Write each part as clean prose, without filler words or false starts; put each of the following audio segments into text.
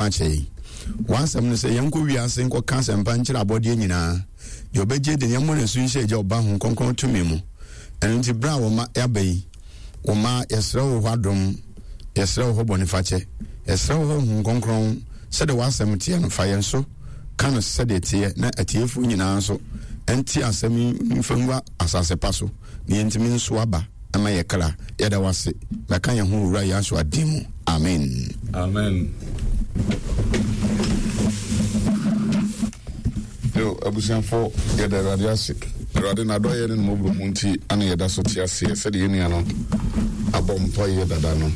akyɛ yɛn. W'asɛm no sɛ yɛnkɔ wiase nkɔka asɛmpa nkyerɛ abɔdeɛ nyinaa. Deɛ ɔbɛgye de yɛmmɔ no asu nhyɛ Agya, Ɔba, Honhom Kronkron tumi mu. Ɛno nti berɛ a wo mma yɛaba yi, wo mma yɛsrɛ wo hɔ adom, yɛsrɛ wo hɔ bɔnefakyɛ, yɛsrɛ wo hɔ Honhom Kronkron, sɛdeɛ w'asɛm teɛ no, fa yɛn so ka no sɛdeɛ ɛteɛ na atiefoɔ nyinaa nso nte asɛm yi mfa ngu asase pa so na yɛntumi nso aba ma yɛ kra. Yɛda wo ase. Bɛka yɛn ho Owura Yahshua din mu. Amen. Amen. Yo, abusuafo, yɛda Awurade ase. Awurade n'adɔyɛ ne ne mmɔborɔhu nti ana yɛda so te aseɛ sɛdeɛ yɛn nua no abɔ mpaeɛ dada no.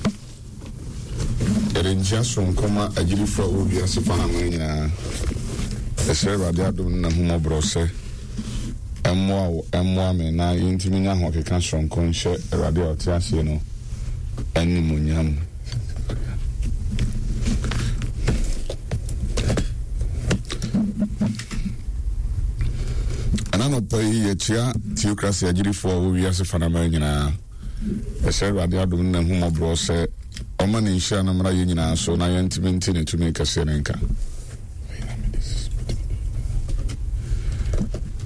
Yɛde nkyia soronko ma agyidifo a wɔwɔ wiase fa aman nyinaa. Yɛsrɛ Awurade adom ne n'ahummɔborɔ sɛ ɛmmoa wo, ɛmmoa me na yɛntumi nya ahokeka soronko nhyɛ Awurade a ɔte aseɛ no animuonyam. Ɛna nɔpa yi yɛkyia Theocracy agyidifoɔ a wɔwɔ wiase fa no aman nyinaa. Yɛsrɛ Awurade adom ne n'ahummɔborɔ sɛ ɔmma ne nhyira no mmra yɛn nyinaa so na yɛntumi nte ne tumi kɛseɛ no nka.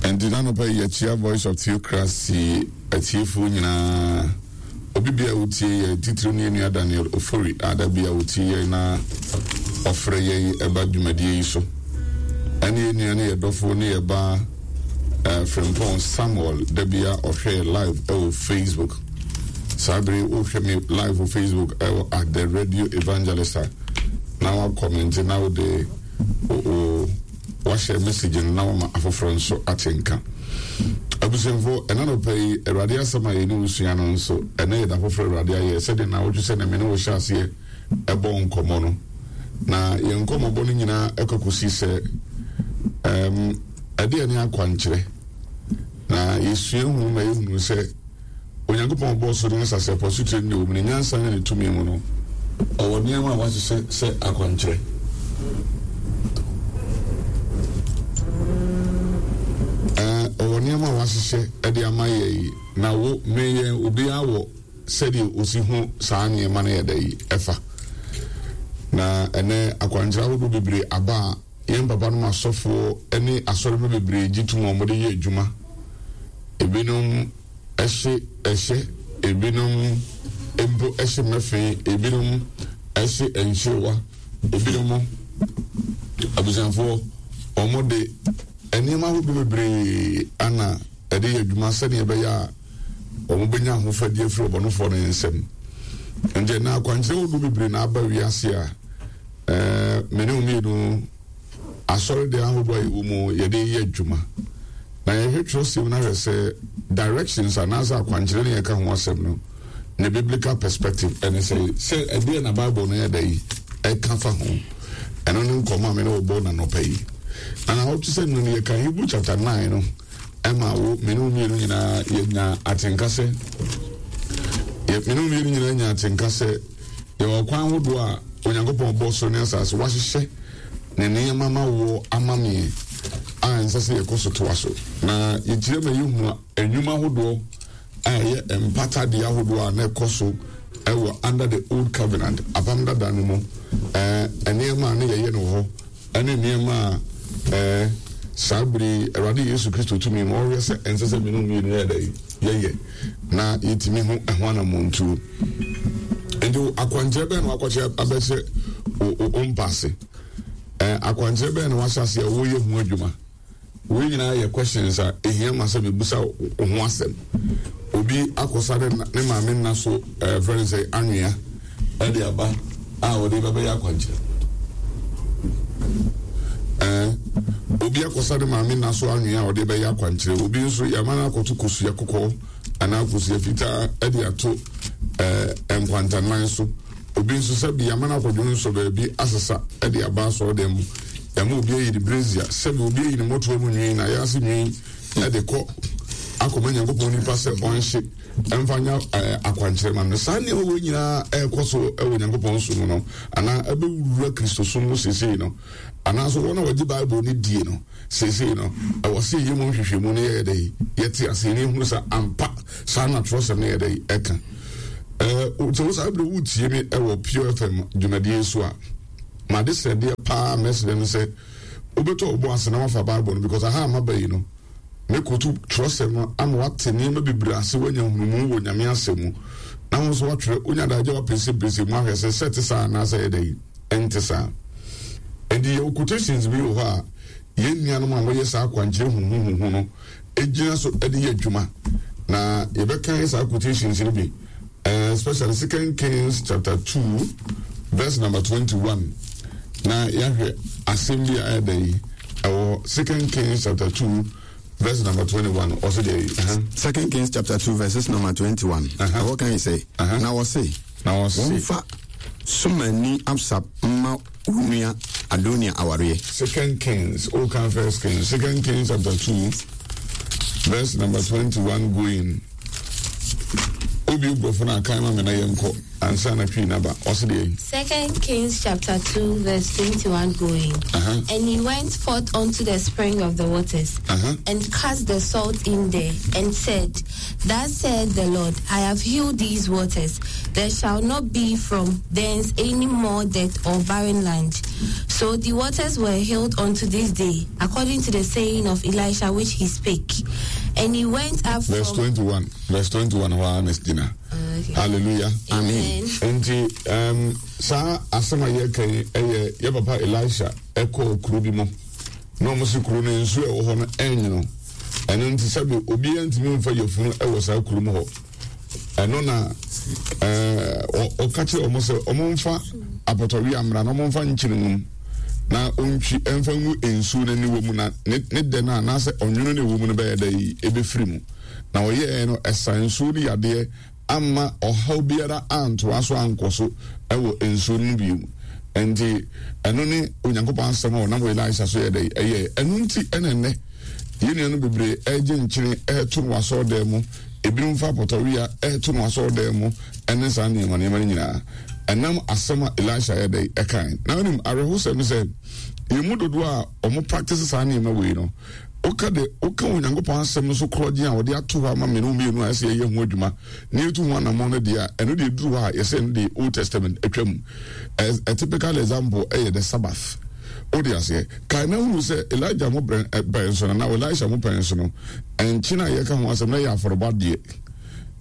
Ɛnti n'anɔpa yi yɛkyia Voice of Theocracy atiefoɔ nyinaa. Obi bia wotie yɛ titiriw ne yɛn nua Daniel Ofori a da bia wotie yɛn na ɔfrɛ yɛn ɛba dwumadie yi so. Ɛne yɛn nua ne yɛ dɔfo ne yɛ ba Eh, Frimpong Samuel da bia ɔhwɛ live ɛwɔ Facebook. Saa bere wohwɛ me live wɔ Facebook ɛwɔ at the radio evangelist a na wakɔmente na wode o wahyɛ message no na wama afoforɔ nso ate nka. Abusuafo, ɛna nɔpɛ yi Awurade asɛm a yɛne wo sua no nso ɛnɛ yɛ da foforɔ Awurade ayɛ sɛdeɛ na wotwe sɛ na me ne wo hyɛ aseɛ ɛbɔ nkɔmmɔ no. Na yɛn nkɔmmɔbɔ no nyinaa ɛkɔ kɔsi sɛ um, Ɛdeɛn ne akwankyerɛ? Na yɛsua hu ma yɛhunu sɛ Onyankopɔn ɔbɔɔ soro ne asase, ɛpo, asutire ne deɛ ɛwɔ mu, ne nyansa ne ne tumi mu no, ɔwɔ nneɛma a wahyehyɛ sɛ akwankyerɛ. Ɔwɔ nneɛma a wahyehyɛ de ama yɛn, na wo, me, yɛn, obiara wɔ sɛdeɛ ɔsi hu saa nneɛma no yɛ dɛ yi ɛfa. Na ɛnɛ akwankyerɛ ahodoɔ bebree aba a Yɛn papanom asɔfoɔ ne asɔremma bebree gye tom a wɔde yɛ adwuma. Ebinom hye ɛhyɛ, ebinom mpo hye mmɛfe, ebinom hye nkyerewa, ebinom abusuafoɔ wɔde nneɛma ahodoɔ bebree ana ɛde yɛ adwuma sɛdeɛ ɛbɛyɛ a wɔbɛnya ahofadie afiri ɔbɔnefoɔ no nsam. Nti ɛnna akwankyerɛ ahodoɔ bebree na aba wiase a Ɛɛ, me ne wo mmienu, asɔredan ahodoɔ a yɛwɔ mu yɛde yɛ adwuma. Na yɛhwɛ twerɛsɛm no ahwɛ sɛ directions anaasɛ akwankyerɛ ne yɛka ho asɛm no, ne biblical perspective ɛne sɛ sɛ ɛdeɛ na Bible no yɛ dɛ yi ɛka fa ho. Ɛno ne nkɔmmɔ a me ne wo bɔ na nɔpa yi. Na na wɔte sɛ no yɛka Hebrew chapter 9 no ɛma wo me ne wo mmienu nyinaa yɛnya atenka sɛ me ne wo mmienu nyinaa nya atenka sɛ Yɛwɔ akwan ahodoɔ a Onyankopɔn bɔɔ soro ne asase, wahyehyɛ ne nneɛma ma woɔ ama me a ɛnsɛ sɛ yɛkɔ so toa so. Na yɛkyerɛ ma yɛhunu nnwuma ahodoɔ a ɛyɛ mpata deɛ ahodoɔ a na ɛkɔ so ɛwɔ under the old covenant, apam dada no mu, ɛɛ nneɛma a na yɛyɛ no wɔ hɔ. ne nneɛma a ɛɛ saa bere yi Awurade Yesu Kristo tumi ma ɔhwɛ sɛ ɛnsɛ sɛ mene mmienu yɛ dɛ yɛyɛ na yɛtumi ho ɛho anammɔntuo. Nti akwankyerɛ bɛn na wakɔkyerɛ abɛhyɛ wo mpa ase? Akwankyerɛ bɛn na wahyɛ ase a woyɛ ho adwuma? Wei nyinaa yɛ questions a ehia ma sɛ mebusa wo ho asɛm. Obi akɔsa ne ne maame nna so ɛɛ fɛn sɛ anwea ɛde aba a ɔde bɛbɛyɛ akwankyerɛ. Ɛɛ obi akɔsa ne maame nna so anwea a ɔde bɛyɛ akwankyerɛ. Obi nso yɛama no akɔto kosua kɔkɔɔ anaa kosua fitaa ɛde ato ɛɛ nkwantanan so. Obi nso sɛbi yɛama no akɔdwo nsɔ baabi asesa de aba asɔredan mu. Yɛama obi ayi ne brazier, sɛbi obi ayi ne mmɔtoa mu nwi, n'ayaase nwi de kɔ akɔma Nyankopɔn nipa sɛ ɔnhye mfa nya akwankyerɛ ma no. Saa nneɛma wei nyinaa ɛrekɔ so wɔ Nyankopɔn som mu no, anaa ɛbɛwura Kristosom mu seesei no, anaasɛ wɔn a wɔgye Bible no die no. Seesei no, ɛwɔ sɛ yɛyɛ mu nhwehwɛmu na yɛyɛ dɛ yɛte ase na yɛhunu sɛ ampa saa na twerɛsɛm no yɛ dɛ ɛka. Sɛ wo saa berɛ wotie me ɛwɔ Pure FM dwumadie so a, M'adesrɛdeɛ paa a mɛsrɛ ne sɛ wobɛtɔ wo bo ase na woafa Bible no because aha a maba yi no, mɛkotu twerɛsɛm no ama woate nneɛma bebree ase, woanya nhunumu wɔ Nyame asɛm mu, na wo nso woatwerɛ, wonya adagyeɛ a woapɛnsɛmpɛnsɛm mu ahwɛ sɛ sɛ ɛte saa anaasɛ ɛyɛ dɛn, ɛnte saa. Enti yɛwɔ quotations bi wɔ hɔ a yɛn nuanom a wɔyɛ saa akwankyerɛ huhuhuhu no gyina so de yɛ adwuma, na yɛbɛkan saa quotations no bi, especially Second Kings chapter 2 verse number 21, na yɛahwɛ asɛm bi a ɛyɛ dɛ yi ɛwɔ Second Kings chapter 2 verse number 21, ɔsɛ deɛ yi. Second Kings chapter 2 verses number 21, ɛhɔ kan yi sɛ, na wɔse, na wɔse, wɔmfa Somani Absab mma wo nua Adonia awareɛ. Second Kings, o kan First Kings, Second Kings chapter 2 verse number 21 going. Obi brɔfo no akan ma me na yɛnkɔ ansa na twi naba. Ɔse deɛ. Second Kings chapter 2 verse 21 going. And he went forth unto the spring of the waters, and cast the salt in there, and said, Thus saith the Lord, I have healed these waters. There shall not be from thence any more death or barren land. So the waters were healed unto this day, according to the saying of Elisha which he spake. And he went up Verse from 21. Verse 21 hɔ ara na gyina. Okay. Hallelujah. Amen. Nti saa asɛm a yɛka yi ɛyɛ yɛ papa Elisha ɛkɔɔ kuro bi mu na wɔn si kuro no nsuo a ɛwɔ hɔ no ɛnwono. Ɛno nti sɛbi obiara ntumi nfa yafunu ɛwɔ saa kuro mu hɔ. Ɛno na ɔka kyerɛ wɔn sɛ wɔn mfa apɔtɔwia mmra na wɔn mfa nkyene nwom na ɔntwi ɛmfa ngu nsuo no aniwa mu na ne ne dɛ no anaasɛ ɔnwono no ɛwɔ mu no bɛyɛ dɛ yi ɛbɛfiri mu. Na ɔyɛɛ no ɛsa nsuo no yadeɛ amma ɔhaw biara antoa so ankɔ so wɔ nsuo no mu bio. Ɛnti ɛno ne Onyankopɔn asɛm a ɔnam Elisha so yɛ dɛ ɛyɛɛ. Ɛno nti ɛna ɛnnɛ yɛn nuanom bebree ɛregye nkyene ɛreto no wɔ asɔredan mu, ebinom fa apɔtɔwia ɛreto no wɔ asɔredan mu ɛne saa nneɛma nneɛma no nyinaa. Ɛnam asɛm a Elisha yɛ dɛ ɛkae. Na wonim awerɛhosɛm ne sɛ yɛn mu dodoɔ a wɔn practice saa nneɛma wei no, woka de woka Onyankopɔn asɛm no so korɔgyen a wɔde ato hɔ ama me ne wo mmienu a ɛsɛ yɛyɛ ho adwuma na yɛtu ho anammɔn no deɛ a, ɛno deɛ ɛduru hɔ a yɛsɛ ɛno deɛ Old Testament atwa mu. A, a typical example ɛyɛ the Sabbath. Wode aseɛ? Kae na hunu sɛ Elijah mo brɛ pɛn so no na Elisha mo pɛn so no, nkyene a yɛka ho asɛm na ɛyɛ afɔrebɔ adeɛ.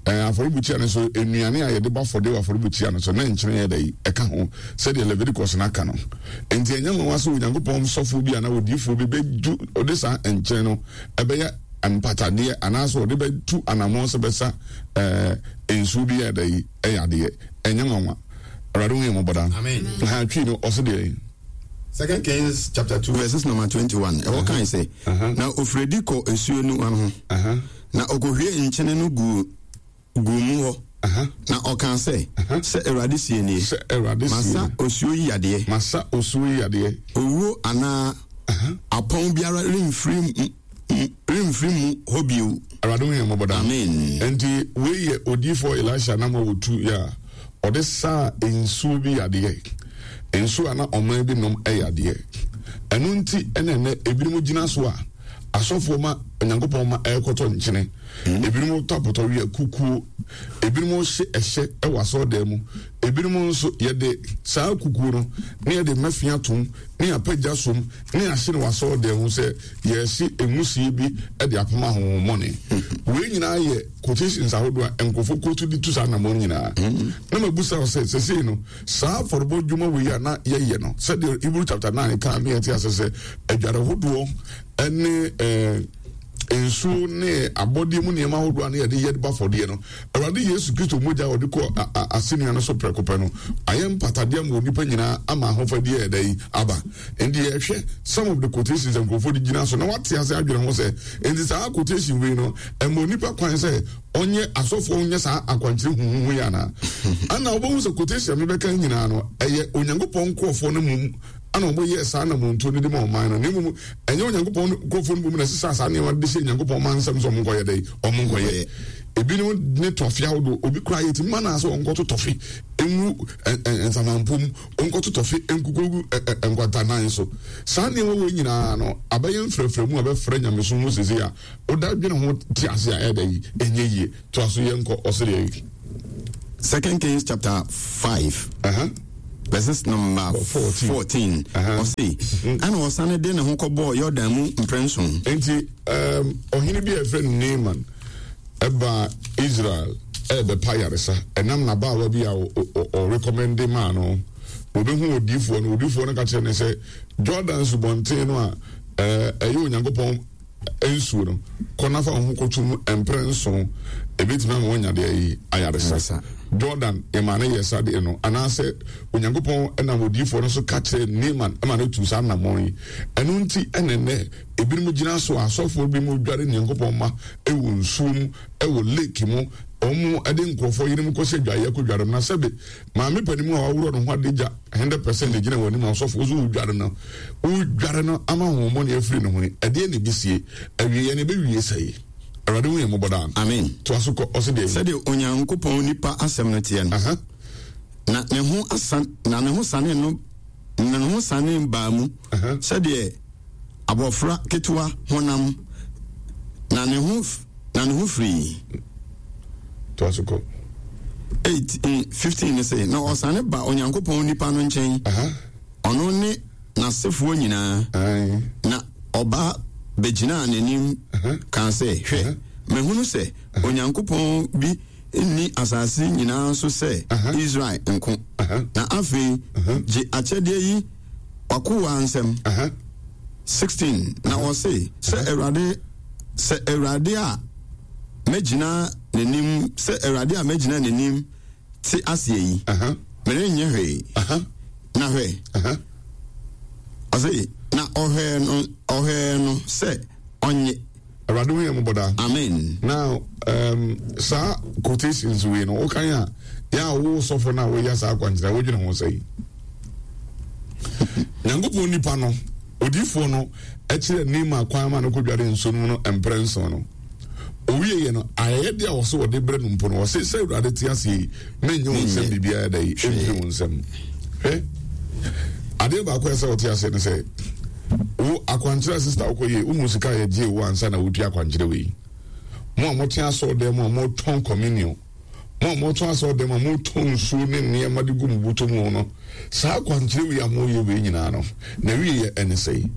Ɛɛ, afɔrebukyia no so, nnuane a yɛde bɔ afɔdeɛ wɔ afɔrebukyia no so, na nkyene yɛ dɛ ɛka ho, sɛdeɛ Leviticus no aka no. Enti ɛnyɛ nwanwa sɛ Onyankopɔn sɔfoɔ bi anaa odiyifoɔ bi bɛdu ɔde saa nkyene no ɛbɛyɛ mpatadeɛ anaasɛ ɔde bɛtu anammɔn sɛ bɛsa ɛɛ nsuo bi yɛ dɛ yi ɛyɛ adeɛ. Ɛnyɛ nwanwa. Awurade hu yɛn mmɔbɔ daa. Amen. Ha twi no ɔse deɛ. Second Kings chapter 2 verses number 21. Ɛhɔ kan sɛ, na ofiri kɔ esuo no ano ho, na ɔkɔhwie nkyene no guu guu mu hɔ, na ɔkaa sɛ, Sɛ Awurade sie nie, Sɛ Awurade sie masa osuo yi yadeɛ. Masa osuo yi yadeɛ. Owuo anaa apɔn biara remfiri remfiri mu hɔ bio. Awurade hu yɛn mmɔbɔ daa. Amen. Enti wei yɛ odiyifoɔ Elisha nam a wɔtu yɛ a ɔde saa nsuo bi yadeɛ. Nsuo a na ɔman bi nom yadeɛ. Ɛno nti ɛna ɛnɛ ebinom gyina so a asɔfoɔ ma Onyankopɔn ma ɛrekɔtɔ nkyene. Ebinom tɔ apɔtɔwia kukuo. Ebinom hye ɛhyɛ wɔ asɔredan mu. Ebinom nso yɛde saa kukuo no na yɛde mmɛfea atom ne yɛapagya som ne yɛahye no wɔ asɔredan mu sɛ yɛrehye nwusie bi de apam ahonhommɔne. Wei nyinaa yɛ quotations ahodoɔ a nkurɔfoɔ quote de tu saa anammɔn nyinaa. Na mabusa wo sɛ, sɛsei no, saa afɔrebɔ dwuma wei a na yɛyɛ no, sɛdeɛ Hebrew chapter 9 kaa ne yɛte ase sɛ adware hodoɔ ne eh, nsuo ne abɔdeɛ mu nneɛma ahodoɔ a na yɛde yɛ ba afɔdeɛ no, Awurade Yesu Kristo mogya a ɔde kɔ asennua no so prɛko pɛ no ayɛ mpatadeɛ ama onipa nyinaa ama ahofadie a ɛda yi aba. Nti yɛhwɛ some of the quotations a nkurɔfoɔ de gyina so na wate ase adwene ho sɛ nti saa quotation wei no ɛma onipa kwan sɛ ɔnyɛ asɔfoɔ nyɛ saa akwankyerɛ huhuhu yi anaa? Ana wobɛhu sɛ quotation a mebɛka nyinaa no ɛyɛ Onyankopɔn nkurɔfoɔ no mmom ana wɔyɛɛ saa anammɔntuo no de ma ɔman no, na mmom ɛnyɛ Onyankopɔn nkurɔfoɔ no mmom na ɛsesaa saa nneɛma no de hyɛɛ Nyankopɔn man nsam sɛ wɔnkɔyɛ dɛn? Wɔnkɔyɛ. Ebinom ne tɔfe ahodoɔ, obi koraa yɛtumi ma no sɛ ɔnkɔto tɔfe ngu nsamanpo mu, ɔnkɔto tɔfe nkukugu nkwantanan so. Saa nneɛma wei nyinaa no abɛyɛ mfrɛfrɛ mu a bɛfrɛ nyamesom mu sese a woda dwene ho te ase a ɛyɛ dɛ ɛnyɛ yie. Toa so yɛnkɔ ɔsereɛ yi. Second Kings chapter 5. Verses number 14. 14. Ɔse, ɛna ɔsane de ne ho kɔbɔɔ Yordan mu mprɛnson. Enti ɔhene bi a yɛfrɛ no Naaman ɛbaa Israel ɛrebɛpa ayaresa ɛnam n'abaawa bi a ɔrekɔmɛnde maa no. Wɔbɛhu odiifoɔ no, odiifoɔ no ka kyerɛ no sɛ Jordan subɔnten no a ɛyɛ Onyankopɔn nsuo no, kɔ na fa wo ho kɔto mu mprɛ nson, ɛbɛtumi ama woanya deɛ yi ayaresa. Jordan yɛmaa no yɛ saa deɛ no, anaasɛ Onyankopɔn nam odiyifoɔ no so ka kyerɛɛ Naaman ma no tuu saa anammɔn yi. Ɛno nti ɛna nnɛ ebinom gyina so a asɔfoɔ binom dware Nyankopɔn mma wɔ nsuo mu, wɔ lake mu, wɔn de nkurɔfoɔ yerenom kɔhyɛ adwaeɛ kɔdware mu, na sɛbe Maame panin a waworɔ ne ho adagya 100% na egyina w'anim a ɔsɔfo nso wodware no wodware no ama honhommɔne afiri ne ho yi ɛdeɛ na ebesie awieɛ no ebewie sɛe. Awurade hu yɛn mmɔbɔ daa. Amen. Toa so kɔ ɔse deɛ. Sɛdeɛ Onyankopɔn nipa asɛm no teɛ no. Na ne ho asan na ne ho sane no na ne ho sane baa mu sɛdeɛ abɔfra ketewa honam na ne ho na ne ho firii. Toa so kɔ. 8 15 ne sɛ, na ɔsane ba Onyankopɔn nipa no nkyɛn, ɔno ne n'asefoɔ nyinaa, na ɔba bɛgyinaa n'anim kaa sɛ, Hwɛ, mahunu sɛ Onyankopɔn bi nni asase nyinaa so sɛ Israel nko, na afei gye akyɛdeɛ yi w'akoa nsam. 16 na ɔse, Sɛ Awurade, sɛ Awurade a mɛgyina n'anim, sɛ Awurade a mɛgyina n'anim te aseɛ yi, merenyɛ hwee. Na hwɛ, ɔse, na ɔhwɛɛ no, ɔhwɛɛ no sɛ ɔnye. Awurade hu yɛn mmɔbɔ daa. Amen. Now, saa quotations wei no, wokan a, yɛ a wo sɔfo no a woyɛ saa akwankyerɛ, wodwene ho sɛn? Nyankopɔn nipa no, odiyifoɔ no, kyerɛ Naaman kwan ma no kɔdware nsuo no mu no mprɛ nson no. Owieɛ no, ayɛyɛdeɛ a wɔsɛ wɔde brɛ no mpo no, wɔse sɛ Awurade te aseɛ yi, menyɛ wo nsɛm biribiara da yi, ɛmfiri wo nsɛm. Hwɛ, adeɛ baako a ɛsɛ wɔte aseɛ ne sɛ, wo akwankyerɛ sista wokɔ yie, wohu sika a yɛgyee wo ansa na wotua akwankyerɛ wei. Mo a mote asɔɔdan mu a motɔn communion, Mo a moto asɔrdan mu a motɔ nsuo ne nneɛma de gu mo bɔtɔ mu no, saa akwankyerɛ wei a moreyɛ wei nyinaa no, n'awieeɛ ne sɛn?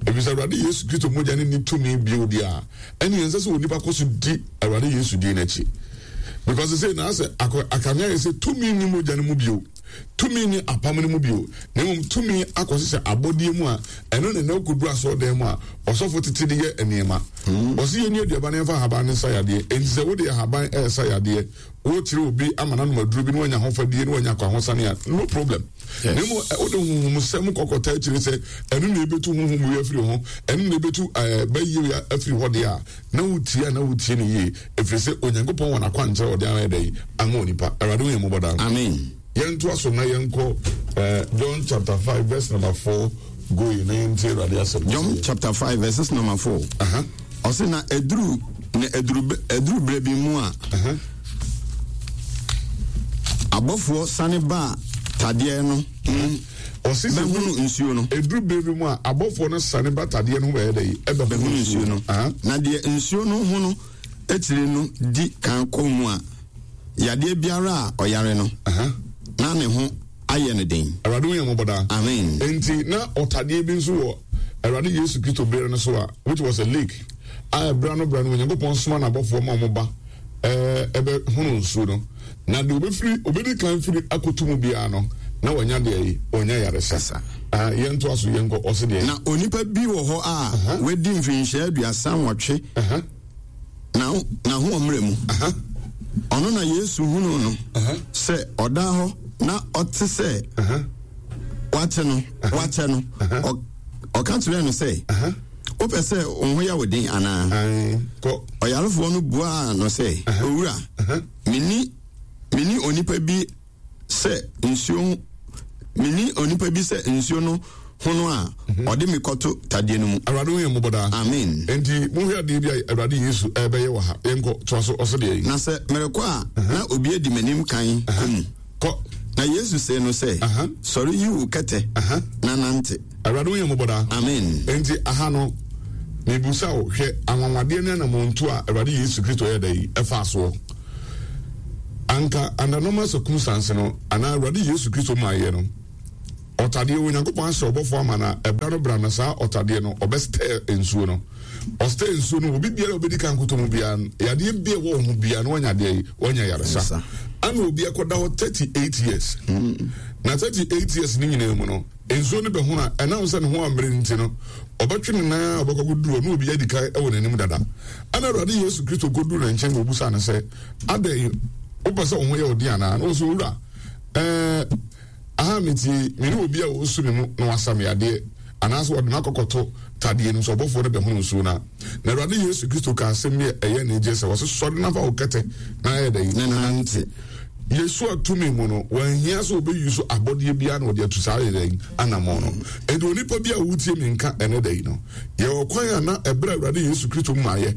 Ɛfiri sɛ Awurade Yesu Kristo mogya no nni tumi bio deɛ a, ɛnneɛ ɛnsɛ sɛ onipa kɔ so di Awurade Yesu din no akyi. Because sɛ na asɛ akame ayɛ sɛ tumi nni mogya no mu bio. Tumi nni apam no mu bio, na mmom tumi akɔhyehyɛ abɔdeɛ mu a ɛno na ɛnɛ wokɔduru asɔredan mu a ɔsɔfo tete de yɛ nneɛma. Ɔse yɛnni aduaba na yɛmfa ahaban no nsa yadeɛ. Enti sɛ wode ahaban ɛresa yadeɛ, worekyerɛ obi ama no anom aduro bi na wanya ahofadie na wanya akwahosan a, no problem. Na mmom wode honhomsɛm kɔkɔtaa akyire sɛ ɛno na ɛbɛtu honhom wei afiri ho, ɛno na ɛbɛtu bayie wei afiri hɔ deɛ a, na wotie a na wotie no yie, ɛfiri sɛ Onyankopɔn wɔ n'akwankyerɛ a ɔde ayɛ dɛn ama onipa. Awurade hu yɛn mmɔbɔ daa. Amen. Yɛntoa so na yɛnkɔ eh, John chapter 5 verse number 4 going na yɛntie Awurade asɛm. John chapter 5 verses number 4. Ɔse na ɛduru na ɛduru ɛduru berɛ bi mu a abɔfoɔ sane baa tadeɛ no ho Ɔse sɛ bɛhunu nsuo no. Ɛduru berɛ bi mu a abɔfoɔ no sane ba tadeɛ no ho bɛyɛ dɛ ɛbɛhunu nsuo no. Na deɛ nsuo no ho no akyire no di kan kɔ mu a, yadeɛ biara a ɔyare no, na ne ho ayɛ no den. Awurade hu yɛn mmɔbɔ daa. Amen. Enti na ɔtadeɛ bi nso wɔ Awurade Yesu Kristo berɛ no so a, which was a lake, a ɛberɛ ano berɛ no Onyankopɔn soma n'abɔfoɔ ma wɔn ba ɛbɛ hono nsuo no, na deɛ ɔbɛfiri ɔbɛdi kan firi akɔto mu biara no, na wanya deɛ yi, ɔnya yaresa. Ah, yɛntoa so yɛnkɔ, ɔse deɛ. Na onipa bi wɔ hɔ a wadi mfinhyia 38. Na n'ahoɔmmerɛ mu. Ɔno na Yesu hunuu no sɛ ɔda hɔ na ɔte sɛ wate no, wakyɛ no. Ɔka kyerɛɛ no sɛ, Wopɛ sɛ wo ho yɛ wo den anaa? Ɔyarefoɔ no buaa no sɛ, Owura, menni menni onipa bi sɛ nsuo ho menni onipa bi sɛ nsuo no hono a mhm. ɔde me kɔto tadeɛ no mu. Awurade hu yɛn mmɔbɔ daa. Amen. Enti monhwɛ adeɛ bi a Awurade Yesu ɛrebɛyɛ wɔ ha. Yɛnkɔ toa so ɔsɛ deɛ yi. Na sɛ merekɔ a na obi adi m'anim kan kɔ mu. Kɔ. Na Yesu see no sɛ, Sɔre yi wo kɛtɛ na nante. Awurade hu yɛn mmɔbɔ daa. Amen. Enti aha no mebusa wo, hwɛ anwanwadeɛ ne anammɔntuo a Awurade Yesu Kristo yɛ da yi ɛfaa soɔ. Anka under normal circumstance no, anaa Awurade Yesu Kristo maayɛ no. Ɔtadeɛ, Onyankopɔn ahyɛ ɔbɔfoɔ ama no a, ɛberɛ no bra no saa ɔtadeɛ no, ɔbɛstɛɛ nsuo no. Ɔstɛɛ nsuo no, obi biara a ɔbɛdi kan kɔtɔ mu biara no, yadeɛ bi a ɛwɔ wo ho biara no, wanya adeɛ yi, wanya yaresa. Ana obi akɔda hɔ 38 years. Na 38 years no nyinaa mu no, nsuo no bɛhono a, ɛnam sɛ ne ho ammere nti no, ɔbɛtwe ne nan a ɔbɛkɔ akɔduru hɔ na obi adi kan wɔ n'anim dada. Ɛna Awurade Yesu Kristo kɔduru ne nkyɛn na ɔbusaa no sɛ, Adɛn, wopɛ sɛ wo ho yɛ wo den anaa? Na ɔsɛ, Owura, ɛɛ, Aha metie yi, me ne obi a ɔresu me mu na wasa me yadeɛ, anaasɛ ɔde me akɔkɔto tadeɛ no mu sɛ ɔbɔfoɔ no bɛhono nsuo no a. Na Awurade Yesu Kristo kaa asɛm bi a ɛyɛ anigyeɛ sɛ, ɔse, Sɔre na fa wo kɛtɛ na ayɛ dɛn? Na nante. Yesua tumi mu no, wanhia sɛ ɔbɛyi so abɔdeɛ biara na ɔde atu saa ayɛ dɛn? Anammɔn no. Enti onipa bi a wotie me nka ɛnɛ da yi no, Yɛwɔ kwan a na ɛberɛ a Awurade Yesu Kristo mmaeɛ,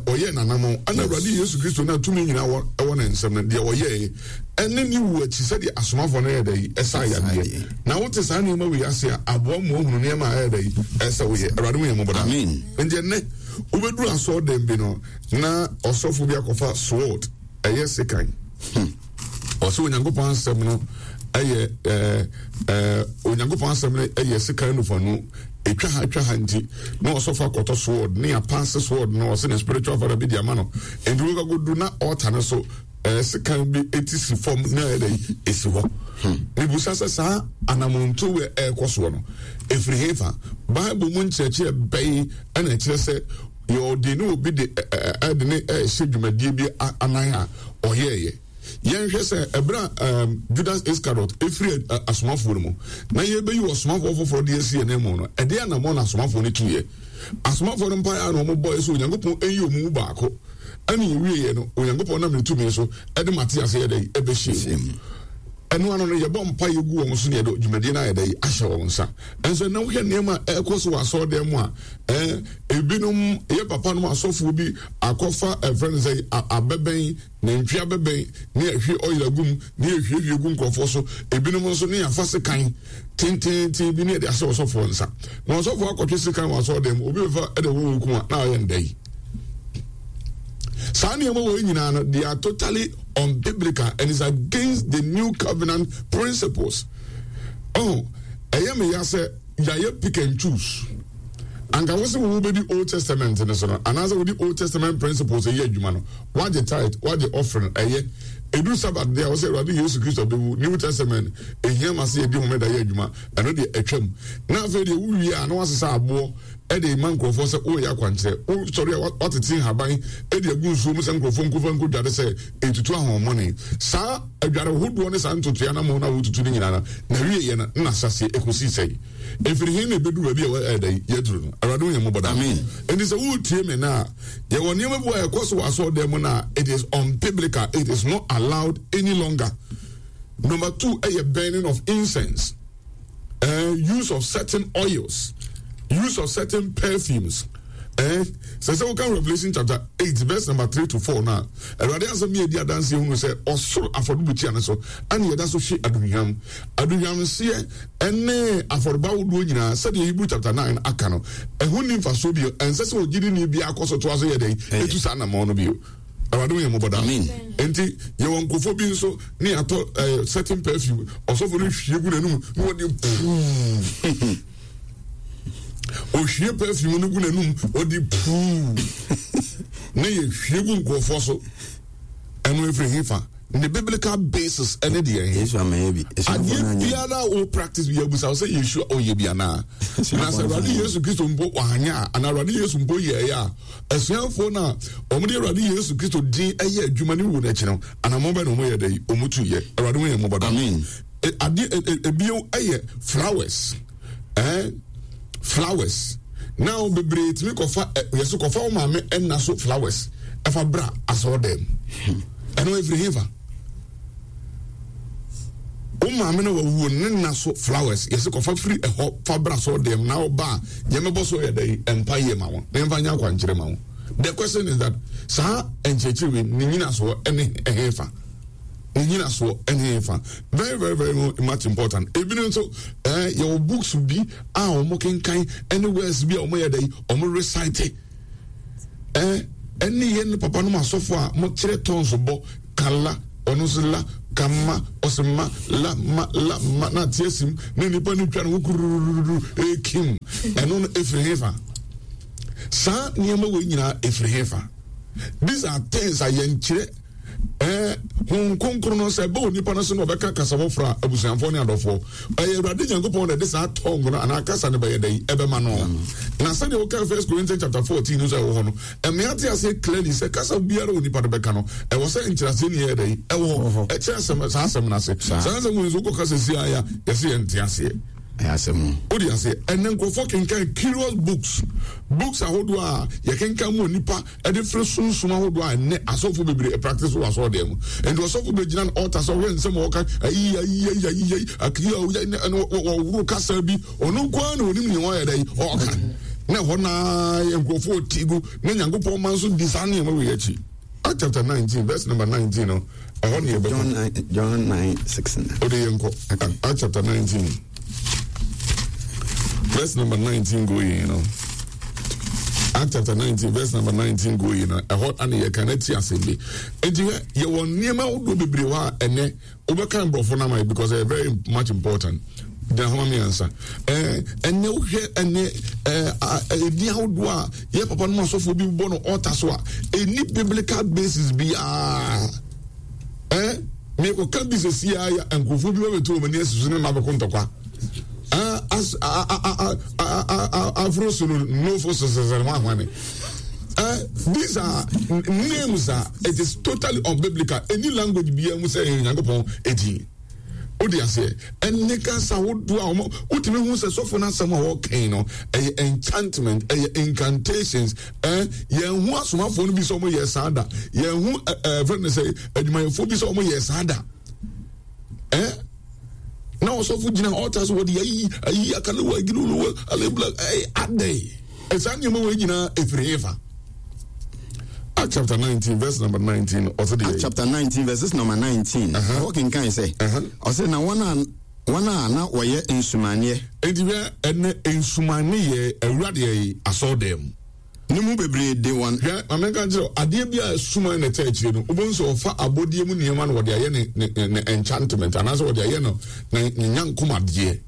ɔyɛɛ n'anammɔn, ɛna Awurade Yesu Kristo no a tumi nyinaa wɔ ɛwɔ ne nsam no, deɛ ɔyɛeɛ ɛne ne wuo akyi sɛdeɛ asomafoɔ no yɛɛ dɛ yi, ɛsaa yadeɛ. Na wote saa nneɛma wei ase a, aboa mu ahunu nneɛma a ɛyɛ dɛ yi, ɛsɛ woyɛ. Awurade hu yɛn mmɔbɔ daa. Nti ɛnnɛ, wobɛduru asɔɔdan bi no, na ɔsɔfo bi akɔfa sword, ɛyɛ sekan. Ɔsɛ Onyankopɔn asɛm no ɛyɛ ɛɛ ɛɛ Onyankopɔn asɛm no ɛyɛ sekan nufanu etwa ha twa ha nti na ɔsɔfo akɔtɔ sword ne apaase sword no ɔsɛ ne spiritual father bi di ama no nti wɔkɔ akɔdu na ɔɔta no so ɛɛ sekan bi eti si fam na ɛyɛ dɛ esi hɔ. Mibusa sɛ saa anamonto wɛ ɛɛkɔ soɔ no efiri hefa? Bible mu nkyerɛkyerɛ bɛyi ɛna ɛkyerɛ sɛ yɛ ɔde ne obi de ɛde ne ɛhyɛ dwumadie bi anan a ɔyɛɛyɛ. Yɛnhwɛ sɛ ɛberɛ a um, Judas Iscariot ɛfiri asomafoɔ no mu na yɛbɛyi ɔsomafoɔ foforɔ de asi yɛn mu no, ɛdeɛ anammɔn na asomafoɔ no tuiɛ? Asomafoɔ no mpaeɛ a na wɔbɔeɛ sɛ Onyankopɔn ɛnyi wɔn mu baako ɛne yɛwieɛ no, Onyankopɔn nam ne tumi so ɛde Matias yɛ dɛ ɛbɛhyɛ mu. Ɛno ano no yɛbɔ mpa yɛgu wɔn so ne yɛde dwumadie no ayɛ dɛ ahyɛ wɔn nsa. Ɛnso ɛnna wohwɛ nneɛma a ɛrekɔ so wɔ asɔredan mu a, ɛɛ ebinom yɛ papa nom asɔfoɔ bi akɔfa ɛfrɛ no sɛ abɛbɛn Nantwi abɛbɛn ne yɛhwie oil agu mu ne yɛhwiehwie gu nkurɔfoɔ so. Ebinom nso ne yɛafa sekan tenteenten bi ne yɛde ahyɛ ɔsɔfoɔ nsa. Na ɔsɔfoɔ akɔtwe sekan wɔ asɔredan mu, obi bɛfa de wɔ wo kum a, na ɔyɛ ndɛ yi. Saa nneɛma wɔ nyinaa no, they are totally unbiblical and is against the new covenant principles. Oh, ɛyɛ me ya sɛ yɛayɛ pick and choose. Anka wo sɛ wo bɛdi Old Testament no so no, anaasɛ wode Old Testament principles ɛyɛ adwuma no, Woagye tithe, woagye offering, ɛyɛ. Ɛduru Sabbath deɛ a, wosɛ Awurade Yesu Kristo abɛwu, New Testament, ɛhia ma sɛ yɛdi Homeda yɛ adwuma, ɛno deɛ atwam. Na afei deɛ wowie a, na woasesa aboɔ de rema nkurɔfoɔ sɛ woreyɛ akwankyerɛ. Wosɔre a, woatete nhaban de agu nsuo mu sɛ nkurɔfoɔ nkɔfa nkɔdware sɛ ɛretutu ahonhommɔne. Saa adware hodoɔ ne saa ntotoeɛ anammɔn no a wotutu no nyinaa no, n'awieeɛ no, na ahyɛaseɛ ɛkɔsii sɛn? Ɛfiri he na ɛbɛduru baabi a ɛda yi yɛaduru no? Awurade hu yɛn mmɔbɔ daa. Enti sɛ woretie me nnɛ a, Yɛwɔ nneɛma bi wɔ a ɛkɔ so wɔ asɔredan mu no a it is unbiblical, it is not allowed any longer. Number two ɛyɛ burning of incense, uh, use of certain oils, use of certain perfumes. Eh, sɛ sɛ woka Revelation chapter 8 verse number 3 to 4 no a Awurade asɛm yɛ di adanseɛ hunu sɛ ɔsoro afɔrebukyia no so ɛne yɛda so hwe aduhwam aduhwamhyeɛ ne afɔrebɔ ahodoɔ nyinaa sɛdeɛ Hebrew chapter 9 aka no, ɛho nni mfasoɔ bio. Ɛnsɛ sɛ ogyidini biara kɔ so toa so yɛ dɛn? Ɛtu saa anammɔn no bio. Awurade hu yɛn mmɔbɔ daa. Enti yɛwɔ nkurɔfoɔ bi nso ne yɛatɔ eh, certain perfume, ɔsɔfo no hwie gu n'anum na wɔde puu. Ohwie perfume no gu n'anum, wɔde puu. Ne yɛhwie gu nkurɔfoɔ so. Ɛno ɛfiri hefa? Ne biblical basis ɛne deɛ he? Yesu amɛyɛ bi. Adeɛ biara a wo practice bi abusa wo sɛ Yesu ɔyɛ bi anaa? Na sɛ Awurade Yesu Kristo mpo wanyɛ a, anaa Awurade Yesu mpo yɛɛyɛ a, asuafoɔ no a wɔde Awurade Yesu Kristo din ɛyɛ adwuma ne wuo no akyi no, anammɔn bɛn na wɔyɛ dɛ yi? Wɔn tu yɛ. Awurade ho yɛn mmɔbɔ daa. Amen. Adeɛ ebio ɛyɛ flowers. Eh, flowers. Now bebree tumi kɔfa yɛso kɔfa wo maame ɛna so flowers ɛfa bra asɔɔ dɛm. Ɛno efiri hefa? Wo maame na wawuo ne nna so flowers yɛsɛ kɔfa firi ɛhɔ fa bra asɔɔ dɛm na ɔba a yɛmɛbɔ so yɛ dɛ mpa yie ma wɔn na yɛmfa nyɛ akwankyerɛ ma wɔn. The question is that saa nkyerɛkyerɛ wei ne nyinasoɔ ɛne ɛhefa? Ne nyinasoɔ ɛne ɛhefa? Very very very much important. Ebinom nso ɛɛ yɛwɔ books bi a wɔn kenkan ɛne words bi a wɔn yɛ dɛ wɔn recite ɛɛ ɛne yɛn papa nom asɔfo a wɔkyerɛ tons bɔ kala ɔno nso la. ka ma, ɔse ma, la, ma, la, ma, na ate asim, na nnipa no twa ne ho kururururu, ɛrekim. Ɛno no, ɛfiri hefa? Saa nneɛma wei nyinaa ɛfiri hefa? These are things a yɛnkyerɛ ɛɛ Honhom Kronkron no sɛ ɛbɛ onipa no so na ɔbɛka kasa foforɔ a abusuafoɔ ne adɔfoɔ ɛyɛ Awurade Nyankopɔn na ɛde saa tɔng no anaa kasa no bɛyɛ dɛn ɛbɛma no. Na sɛdeɛ woka First Corinthians chapter 14 no sɛ ɛwɔ hɔ no, ɛmea te aseɛ clearly sɛ kasa biara onipa no bɛka no ɛwɔ sɛ nkyerɛaseɛ ne yɛ dɛn ɛwɔ hɔ ɛkyerɛ asɛm saa asɛm no ase. Saa asɛm wɔ nso wokɔ kasa si aya yɛsɛ yɛnte aseɛ. Ɛyɛ asɛm o. Wode aseɛ ɛnɛ nkurɔfoɔ kenkan curious books books ahodoɔ a yɛkenkan mu onipa ɛde firi sunsum ahodoɔ a ɛnɛ asɔfo bebree practice wɔ asɔɔdan mu. Nti ɔsɔfo bɛgyina no altar sɛ ɔhwɛ nsɛm a ɔka ayi ayi ayi ayi ayi ayi ayi ɛna wɔworo kasa bi ɔno nko ara na onim nea ɔyɛ dɛ ɔka na ɛhɔ naa nkurɔfoɔ ti gu na Nyankopɔn ma nso di saa nneɛma wei akyi. Act chapter 19 verse number 19 no ɛhɔ ne yɛbɛkɔ. John 9 6. Ɔde yɛn kɔ Act chapter 19. Verse number 19 going, you know. Act chapter 19, verse number 19 going, you know. Ɛhɔ ana yɛ kan ti asɛm bi. Enti hwɛ, yɛwɔ nneɛma ahodoɔ bebree hɔ a ɛnɛ wobɛka nkurɔfoɔ no ama yɛ because ɛyɛ very much important. Gyina hɔ ma me ansa. Ɛɛ ɛnɛ wohwɛ ɛnɛ ɛɛ ɛdi ahodoɔ a yɛ papa no mu asɔfoɔ bi bɔ no ɔta so a ɛni biblical basis biara. Eh, mekɔka bi sɛsi a yɛ nkurɔfoɔ bi bɛbɛto wɔn ani asi so ne ma bɛko ntɔkwa. Afro so no nofo so sɛsɛ ho ahwane. These are names a it is totally unbiblical. Any language biara mu sɛ ɛyɛ Onyankopɔn edin. Wode aseɛ ɛne kasa ahodoɔ a wɔn wotumi hu sɛ sɔfo no asɛm a wɔkɛn no ɛyɛ enchantment, ɛyɛ incantations. Ɛɛ yɛn ho asomafoɔ no bi sɛ wɔn yɛ saa da, yɛn ho ɛɛ fɛn no sɛ adwumayɛfoɔ bi sɛ wɔn yɛ saa da. Ɛɛ na ɔsɔfo gyina ɔta so wɔde ayi ayi akalewa agiruluwa alebla ɛyɛ adɛn ɛsaa nneɛma wɔ nyinaa efiri hefa. Act chapter 19 verse number 19 ɔsɛ deɛ. Act chapter 19 verses number 19. Ɛhɔ kenkan sɛ. Ɔsɛ na wɔn a wɔn a na wɔyɛ nsumaneɛ. Enti hwɛ ɛnɛ nsumaneɛ awura deɛ yi asɔɔdan mu. Ne mu bebree de wɔn. Hwɛ ma menka nkyerɛ wo adeɛ bi a suman na ɛtɛ akyire no wobɛhu sɛ ɔfa abɔdeɛ mu nneɛma na wɔde ayɛ ne ne ne enchantment anaasɛ wɔde ayɛ no ne ne nyankomadeɛ.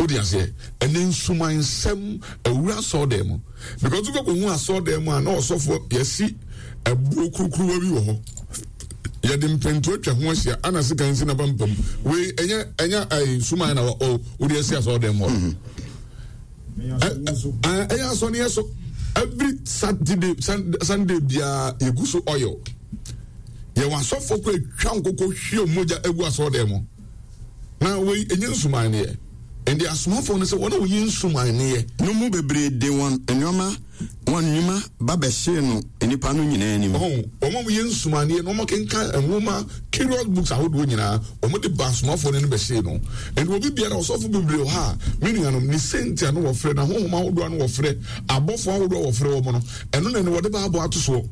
Wode aseɛ? Ɛnɛ nsumansɛm awura asɔɔdan mu. Because wokɔ kɔhu asɔɔdan mu a na ɔsɔfoɔ yɛsi ɛboɔ kurukuruwa bi wɔ hɔ. Yɛde mpɛntu atwa ho ahyia ana sika nsi n'apampam. Wei ɛnyɛ ɛnyɛ ɛyɛ nsuman na wɔ wode asi asɔɔdan mu hɔ. Ɛyɛ asɔneɛ so. Every Saturday Sunday biara yɛgu so oil. Yɛwɔ asɔfoɔ kɔ atwa nkokɔ hwie mogya agu asɔɔdan mu. Na wei ɛnyɛ nsumanneɛ. Ɛnde asomafoɔ no sɛ wɔn a wɔyi nsumanneɛ. No mu bebree de wɔn nnoɔma, wɔn nnwuma ba bɛhyee no nnipa no nyinaa anim. Ɔho, wɔn a wɔyɛ nsumanneɛ na wɔkenkan nwoma, curious books ahodoɔ nyinaa, wɔde ba asomafoɔ no anim bɛhyee no. Ɛnde obi biara, ɔsɔfo bebree wɔ ha a, me nuanom, ne senti a na wɔfrɛ, n'ahonhom ahodoɔ a na wɔfrɛ, abɔfoɔ ahodoɔ a wɔfrɛ wɔn no, ɛno na ɛne wɔde Bible ato soɔ.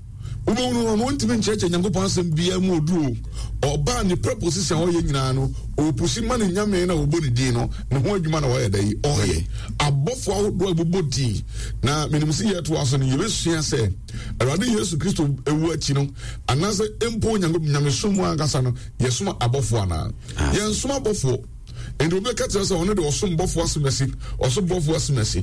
Wobɛhunu no, ɔno ɔntumi nkyerɛkyerɛ Nyankopɔn asɛm biara mu ɔduru o. Ɔbaa ne preposition a ɔyɛ nyinaa no, ɔpusi ma ne nyame na wɔbɔ ne din no, ne ho adwuma na ɔyɛ dɛ yi, ɔyɛ. Abɔfoɔ ahodoɔ a ɛbobɔ din. Na menim sɛ yɛtoa so no, yɛbɛsua sɛ Awurade Yesu Kristo ewu akyi no, anaasɛ mpo Onyankopɔn nyamesom mu ankasa no, yɛsom abɔfoɔ anaa? Yɛnsom abɔfoɔ. Nti obi bɛka kyerɛ sɛ ɔno de ɔsom bɔfoɔ asɛm asi, ɔsom bɔfoɔ asɛm asi.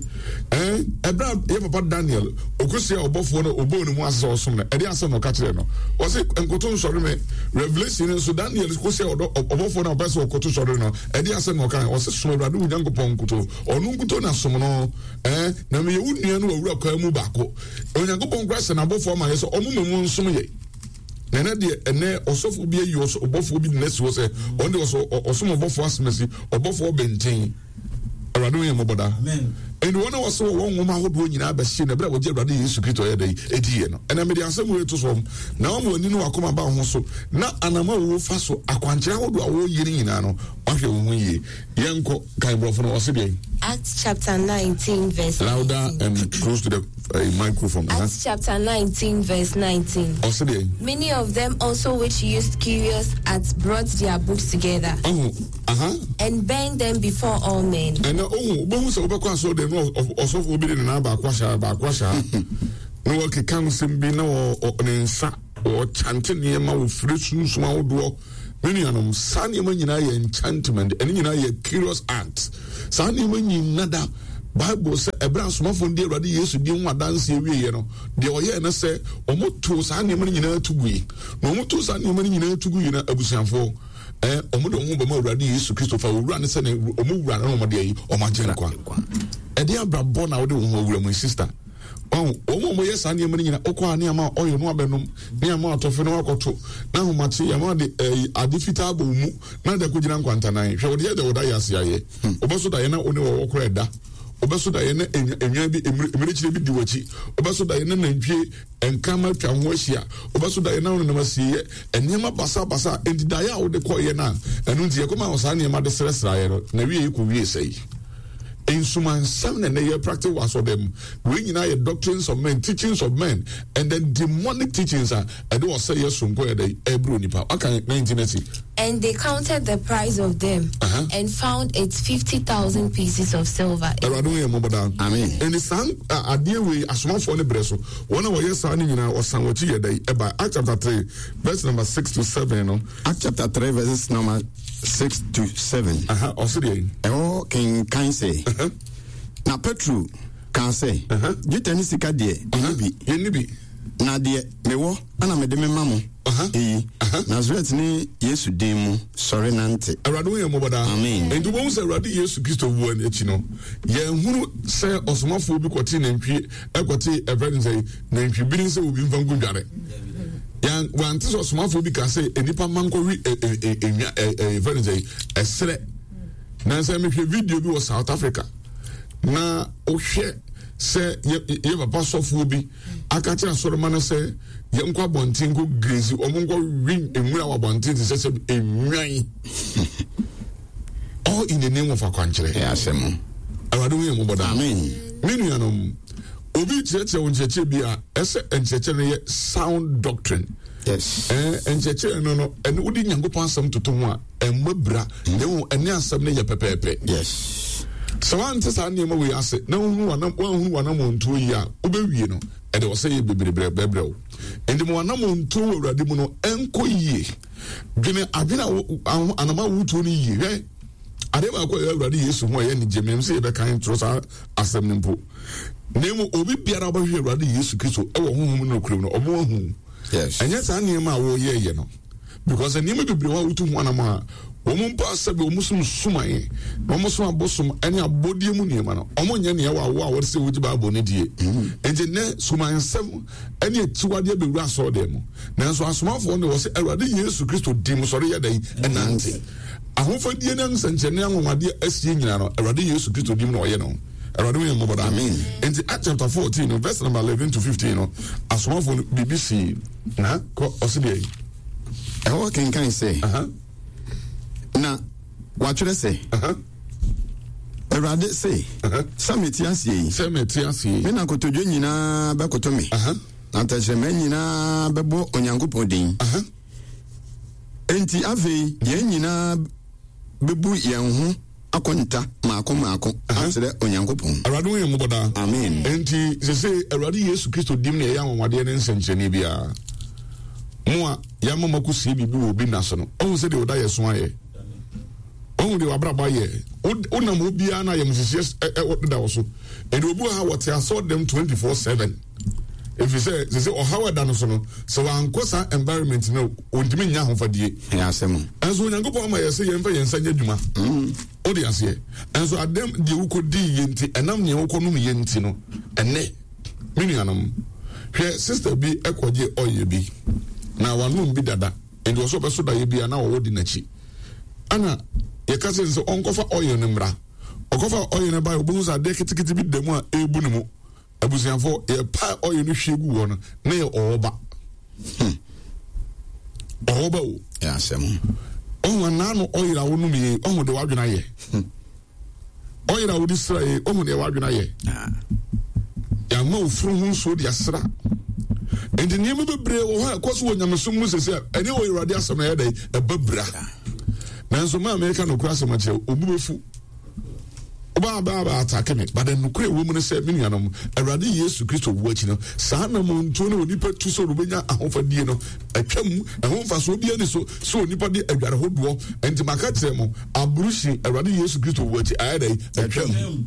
Ɛn, ɛberɛ a yɛ papa Daniel ɔkɔhyia ɔbɔfoɔ no ɔbɔɔ ne mu ase sɛ ɔsom no, ɛde asɛm na ɔka kyerɛ no. Ɔse nkoto nsɔre me. Revelation nso Daniel kɔhyia ɔdɔ ɔbɔfoɔ no a ɔpɛ sɛ ɔkoto sɔre no, ɛde asɛm na ɔka. Ɔse som Awurade wo Nyankopɔn nkoto, ɔno nkoto na som no. Ɛn, na meyɛ wo nua no wɔ wura kwan mu baako. Onyankopɔn koraa hyɛ n'abɔfoɔ ama yɛ sɛ ɔmo mmom nsom yɛ. Na ɛnɛ deɛ ɛnɛ ɔsɔfo bi ayi ɔbɔfoɔ bi de n'asi hɔ sɛ ɔno deɛ ɔsɔ ɔsom ɔbɔfoɔ asomasi ɔbɔfoɔ bɛnten awurade ho yɛ mmɔbɔ daa ɛnti wɔn a wɔsɛ wɔwɔ nwoma ahodoɔ nyinaa bɛhye na ɛberɛ a wɔgye awurade yesu kristo ɔyɛ dɛ ɛdiiɛ no ɛnɛ mede asɛm wei to so na wɔn ani ne wakoma ba ho so na anam a wɔwɔ fa so akwankyerɛ ahodoɔ a wɔyɛ no nyinaa no wahwɛ wo ho yie yɛnkɔ kan borɔfo no ɔse deɛ Acts chapter 19 verse louder and close to the microphone. Uh-huh. Acts chapter 19 verse 19. Ɔse deɛ Many of them also which used curious arts brought their books together. Oh, uh-huh. And burned them before all men. Ɛnna ohun wobɛhu sɛ wobɛkɔ asɔre dɛm na ɔsɔfo bi de ne nan baako ahyɛ baako ahyɛ na wɔkeka nsɛm bi na ne nsa wɔkyante nneɛma wɔfiri sunsum ahodoɔ. Me nuanom, saa nneɛma nyinaa yɛ enchantment, ɛne nyinaa yɛ curious art. Saa nneɛma nyinaa da Bible sɛ ɛberɛ asomafoɔ no di Awurade Yesu di ho adanseɛ wieɛ no, deɛ ɔyɛɛ no sɛ wɔtoo saa nneɛma no nyinaa to gui. Na wɔtoo saa nneɛma no nyinaa to gui no, abusuafoɔ, eh, wɔn de wɔn ho bɛma Awurade Yesu Kristo fa owura no sɛ ne wɔn wura no na wɔn de ayi wɔn agye nkwa. Ɛde abrabɔ na wɔde wɔn ho awura mu, sister. Wɔn wɔn a wɔyɛ saa nneɛma no nyinaa, wokɔ a ne ama ɔyɛ no abɛnom, ne ama atɔfe no akɔto, na ahomakye yɛn de ɛyi ade fitaa bɔ mu na de akɔgyina nkwantanan. Hwɛ wɔde yɛ deɛ wɔda yɛ ase ayɛ. Wobɛso da yɛ na wo ne wɔwɔ kora ɛda. Wobɛso da yɛ na enwan bi mmirekyire bi di w'akyi. Wobɛso da yɛ na nantwie nkrama atwa ho ahyia. Wobɛso da yɛ na wonenam asieeɛ. Nneɛma basabasa. Enti daeɛ a wode kɔeɛ no a ɛno nti yɛkɔma wo saa nneɛma de srɛsrɛeɛ no, na wie kɔwie sɛe. Nsumansɛm na ɛnɛ yɛ practice wɔ asɔrdan mu. Wei nyinaa yɛ doctrines of men, teachings of men, and then demonic teachings a ɛde ɔsɛeɛ sononko yɛ dɛ ɛbrɛ onipa. Waka 19 asi. And they counted the price of them uh -huh. and found it 50,000 pieces of silver. Awurade ho yɛ mmɔbɔ daa. Amen. Ɛni saa adeɛ wei asomafoɔ no brɛ so wɔn a wɔyɛ saa no nyinaa wɔsan wɔn akyi yɛ dɛ ɛba Act chapter 3 verse number 6 to 7 no. Act chapter 3 verses number 6 to 7. Ɔse deɛ. Ɛhɔ kenkan sɛ. Na Petro kaa sɛ, Dwetɛ ne sika deɛ, menni bi. Menni bi. Na deɛ mewɔ na mede mema mo eyi, Nasaret ne Yesu din mu, sɔre nante. Awurade hu yɛn mmɔbɔ daa. Amen. Enti wobɛhu sɛ Awurade Yesu Kristo wuo akyi no, yɛnhunu sɛ ɔsomafoɔ bi kɔtee nantwie, ɛkɔtee ɛfrɛ no sɛ nantwibini sɛ obi mfa nkɔdware. Yɛn wante sɛ ɔsomafoɔ bi ka sɛ nnipa mma nkɔwe enwa ɛfrɛ no sɛ ɛserɛ. Nansa mehwɛ video bi wɔ South Africa na wohwɛ sɛ yɛ papa sɔfoɔ bi aka kyerɛ asɔrema no sɛ yɛnkɔ abɔnten nkɔ grezi wɔn nkɔ wi nwura wɔ abɔnten te sɛ sɛ enwan all in the name of akwankyerɛ. Ɛyɛ asɛm. Awurade ho yɛn mmɔbɔ daa. Amen. Me nuanom, obi kyerɛkyerɛ wo nkyerɛkyerɛ bi a ɛsɛ nkyerɛkyerɛ no yɛ sound doctrine. Yes. Ɛɛ nkyerɛkyerɛ no no ɛne wode Nyankopɔn asɛm toto ho a ɛmmɔ bira na mmom ɛne asɛm no yɛ pɛpɛɛpɛ. Yes. Sɛ woante saa nneɛma wei ase na wohunu w'anam woanhunu w'anammɔntuo yie a, wobɛwie no ɛde ɔsɛeɛ bebree bɛbrɛ wo. Enti ma w'anammɔntuo wɔ Awurade mu no ɛnkɔ yie. Dwene adwene a anam a wotuo no yie. Hwɛ adeɛ baako a ɛyɛ Awurade Yesu ho a ɛyɛ anigye menim sɛ yɛbɛkan twerɛ saa asɛm no mpo. Na mmom obi biara wobɛhwehwɛ Awurade Yesu Kristo ɛwɔ honhom ne nokorɛ mu no ɔmo ahu. Yes. Ɛnyɛ saa nneɛma a wɔyɛyɛ no. Because nneɛma bebree wɔ a wotu ho anam a wɔn mpo asɛbe wɔn som suman na wɔn som abosom ne abɔdeɛ mu nneɛma no wɔn nyɛ nea ɛwɔ awo a wɔde sɛ wɔgye Bible no die. Mm. Nti nnɛ sumansɛm ne akyiwadeɛ bɛwura asɔredan mu. Nanso asomafoɔ no wɔ sɛ Awurade Yesu Kristo di mu sɔre yɛ dɛn ɛnante. Ahofadie ne nsɛnkyerɛnne anwanwadeɛ asie nyinaa no Awurade Yesu Kristo di mu na ɔyɛ no. Awurade ho yɛ mmɔbɔ daa. Amen. Nti Acts chapter 14 no verse number 11 to 15 no asomafoɔ no biribi sii. Na kɔ ɔse deɛ yi. Ɛhɔ kenkan sɛ, Na wɔatwerɛ sɛ, Awurade se, sɛ mete aseɛ yi, sɛ mete aseɛ yi, me na kotodwe nyinaa bɛkoto me, na tɛkyerɛma nyinaa bɛbɔ Onyankopɔn din. Enti afei yɛn nyinaa bɛbu yɛn ho akonta mmaako mmaako akyerɛ Onyankopɔn. Awurade hu yɛn mmɔbɔ daa. Amen. Enti sese Awurade Yesu Kristo dim na ɛyɛ anwanwadeɛ ne nsɛnkyerɛnne biara. Mo a yɛama mo akɔsie biribi wɔ obi nna so no, ɔhu sɛ deɛ ɔda yɛ so ayɛ. Ɔhu deɛ wabrabɔ ayɛ. Wonam hɔ biara na ayamhyehyeɛ deda wɔ so. Ɛnti obi wɔ ha wɔte asɔɔdɛm 24/7. Ɛfiri sɛ sese ɔhaw ɛda no so no, sɛ wankɔ saa environment no ɔntumi nnya ahofadie. Ɛyɛ asɛm. Ɛnso Onyankopɔn ama yɛ sɛ yɛmfa yɛn nsa nyɛ adwuma. Mm. Wode aseɛ. Ɛnso adɛm deɛ wokɔdii yɛ nti, ɛnam neɛ wokɔnom yɛ nti no, ɛnɛ, me nuanom, hwɛ sister bi ɛkɔgye ɔyɛ bi, na wanom bi dada, nti wɔ sɛ ɔbɛso daeɛ bi a na wɔwɔ di n'akyi. Ɛna yɛka sɛ sɛ ɔnkɔfa ɔyɛ no mmra. Ɔkɔfa ɔyɛ no baeɛ, ɔbɛhu sɛ adeɛ ketekete bi da mu a ɛrebu ne mu. Abusuafo, yɛpae ɔyɛ no hwie gu hɔ no, na yɛ ɔwɔ ba. Hmm. Ɔwɔ ba o. Yɛ asɛm. Ɔho anaa no ɔyere a wonom yie, ɔho de wadwene ayɛ. Hmm. Ɔyere a wode sra yie, ɔho deɛ wadwene ayɛ. Ah. Yɛama ofuru ho nsuo de asra. Nti nneɛma bebree wɔ hɔ a ɛkɔ so wɔ nyamesom mu sese a ɛne wɔ Awurade asɛm na ɛyɛ dɛ ɛba bira. Nanso maa meka nokorɛ asɛm akyerɛ obu bɛfu. Wobaa baa baa atake me. But nokorɛ ɛwɔ mu ne sɛ, me nuanom, Awurade Yesu Kristo wuo akyi no, saa anammɔntuo no a onipa tu sɛ ɔbɛnya ahofadie no, atwam. Ɛho mfasoɔ biara nni so sɛ onipa de adware hodoɔ. Enti maka kyerɛ mo, aburuhyi, Awurade Yesu Kristo wuo akyi, ayɛ dɛn? Atwam.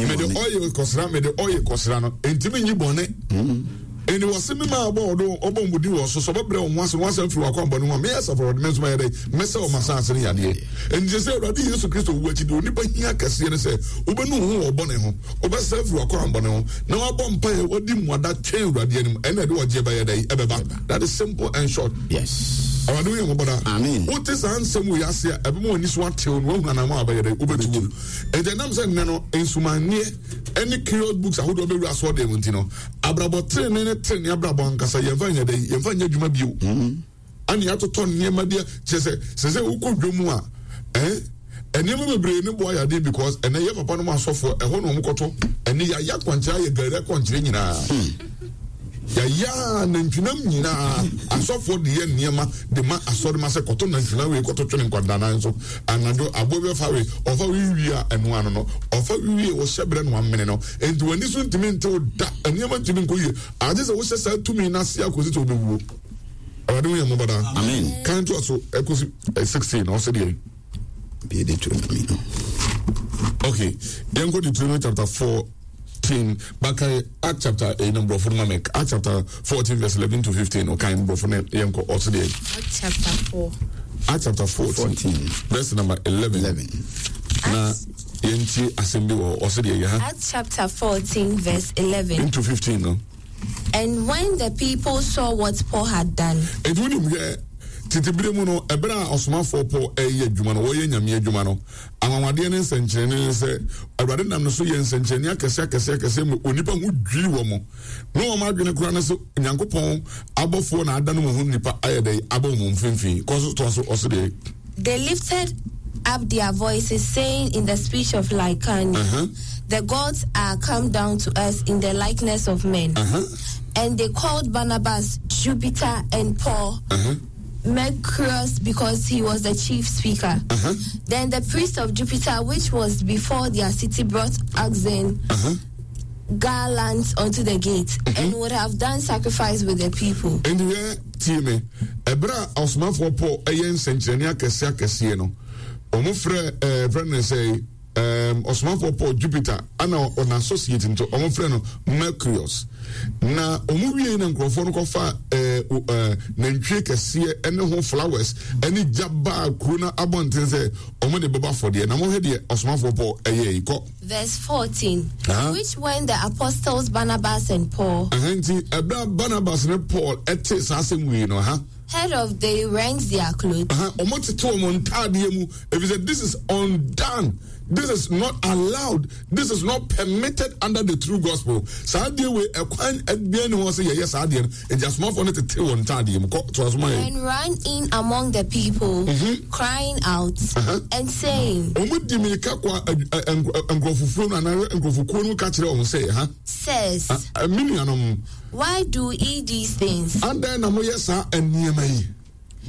Mede ɔyɛ kɔsra, mede ɔyɛ kɔsra no, ntumi nyi bɔne. Ɛnni wɔ se me maa ɔbɔ ɔdo ɔbɔ mbodi wɔ so sɛ ɔbɛbrɛ wɔn ho ase na wɔasan afiri wɔn akwammɔne ho a, me Asafo Awurade me nso mɛyɛ dɛn? Mɛsɛ wɔn asase no yadeɛ. Enti sɛ Awurade Yesu Kristo wu akyi deɛ onipa hia kɛseɛ ne sɛ wobɛnu wo ho wɔ bɔne ho, wobɛsan afiri w'akwammɔne ho, na wabɔ mpaeɛ, wadi mmuada twɛn Awurade anim, ɛnna ɛde ɔgyeɛ bɛyɛ dɛn? Ɛbɛba. That is simple and short. Yes. Awurade hu yɛn mmɔbɔ daa. Amen. Wote saa nsɛm wei ase a, ɛbɛma w'ani so atew na woahunu anammɔn a wobɛyɛ dɛn? Wobɛtu wom. Enti ɛnam sɛ nnɛ no nsumanneɛ ne curious books ahodoɔ bɛwura asɔɔdan mu nti no, Abrabɔ trenee ne trenee abrabɔ ankasa yɛmfa nyɛ dɛn yɛmfa nyɛ adwuma bio. Mm-hmm. Ɛne atotɔ nneɛma bi kyerɛ sɛ sɛ sɛ wokɔ dwa mu a ɛn eh, nneɛma bebree ne boa yadeɛ because ɛnɛ yɛ papa no mu asɔfoɔ ɛhɔ na wɔn kɔtɔ ɛne yɛayɛ akwankyerɛ ayɛ gari akwankyerɛ nyinaa. Hmm. Yɛayɛ nantwinam nyinaa asɔfoɔ de yɛ nneɛma de ma asɔre ma sɛ kɔtɔ nantwinam wei kɔtɔ twene nkwadaa nso anadwo aboa bi ɔfa wei ɔfa wei wie a ɛno ano no ɔfa wie wɔhyɛ berɛ no amene no Enti w'ani so ntumi ntew da, nneɛma ntumi nkɔ yie, agye sɛ wohyɛ saa tumi no ase akɔsi sɛ wobɛwuo. Awurade hu yɛn mmɔbɔ daa. Amen. Kan to so ɛkɔsi 16 na ɔsɛ deɛ. Bie Deuteronomy no. Okay, yɛnkɔ Deuteronomy chapter 14, bakae Act chapter 8 no mborɔfo no ma me. Act chapter 14 verse 11 to 15, ɔkan mborɔfo no yɛnkɔ ɔsɛ deɛ. Act chapter 4. Act chapter 14, 14. verse number 11. 11. Na yɛntie asɛm bi wɔ hɔ ɔsɛ deɛ yɛ ha. Acts chapter 14 verse 11. Into 15 no. And when the people saw what Paul had done. Enti wonim hwɛ tete bere mu no ɛberɛ a ɔsomafoɔ Paul ɛyɛ adwuma no wɔyɛ nyame adwuma no anwanwadeɛ ne nsɛnkyerɛnne ne sɛ awurade nam no so yɛ nsɛnkyerɛnne akɛseɛ akɛseɛ akɛseɛ ma onipa ho dwiri wɔ mo na wɔn adwene koraa ne sɛ nyankopɔn abɔfoɔ na ada no mu ho nipa ayɛ dɛ abɔ wɔn mfimfini kɔ so toa so ɔso deɛ They lifted up their voices, saying in the speech of Lycaonia, uh-huh. The gods are come down to us in the likeness of men. Uh-huh. And they called Barnabas Jupiter and Paul. Uh-huh. Mercurius because he was the chief speaker. Uh-huh. Then the priest of Jupiter, which was before their city, brought oxen, uh-huh. garlands unto the gate, mm-hmm. and would have done sacrifice with the people. And where tie me, ɛberɛ a ɔsomafoɔ Paul ɛyɛ nsɛnkyerɛnne akɛseɛ akɛseɛ no, wɔn frɛ ɛɛ frɛ no sɛ ɛɛm ɔsomafoɔ Paul Jupiter ana ɔna associate nti wɔn frɛ no Mercurius. Na wɔn wie na nkurɔfoɔ no kɔfa ɛɛ ɛɛ nantwie kɛseɛ ɛne ho flowers ɛne gya baa kuro no abɔnten sɛ wɔn de bɛbɔ afɔdeɛ. Na wɔhwɛ deɛ ɔsomafoɔ Paul ɛyɛ yi kɔ. Verse 14, uh-huh. which when the apostles Barnabas and Paul. Nti ɛberɛ a Barnabas ne Paul ɛte saa asɛm wei no ha. Heard of they rent their clothes. Wɔn tete wɔn ntaadeɛ mu efisɛ this is undone. This is not allowed. This is not permitted under the true gospel. Saa adeɛ wei ɛkwan ɛbɛn ne ho sɛ yɛyɛ saa adeɛ no. Nti asomafoɔ no tete wɔn ntaadeɛ mu kɔ to asoma yɛ. And ran in among the people, mm-hmm. crying out uh-huh. and saying. Wɔn di mirika kɔ nkurɔfokuo no anaa nkurɔfokuo no ka kyerɛ wɔn sɛ ha. Says. Mi nuanom. Why do ye these things? Adan na mo yɛ saa nneɛma yi.